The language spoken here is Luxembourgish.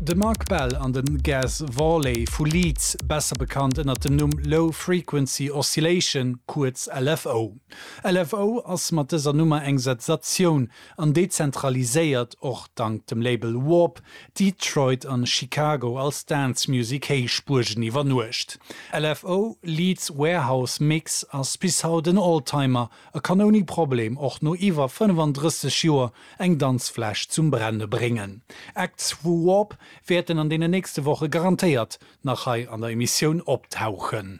De Mark Bell an den Gaz Vorley vu Leeds, besser bekannt ënnert dem Numm Low Frequency Oscillation, kuerz LFO. LFO ass mat dëser Nummer eng Sensatioun an dezentraliséiert, och dank dem Label Warp, Detroit an Chicago als Dance Music Héichbuergen iwwer Nuecht. LFO Leeds Warehouse Mix ass bis haut en Oldtimer a kann ouni Problem och no iwwer 35 Joer eng Danzfläch zum Brenne bréngen. Acts vu Warp wäerten an deenen nächste Woche garantéiert nach hei an der Emissioun optauchen.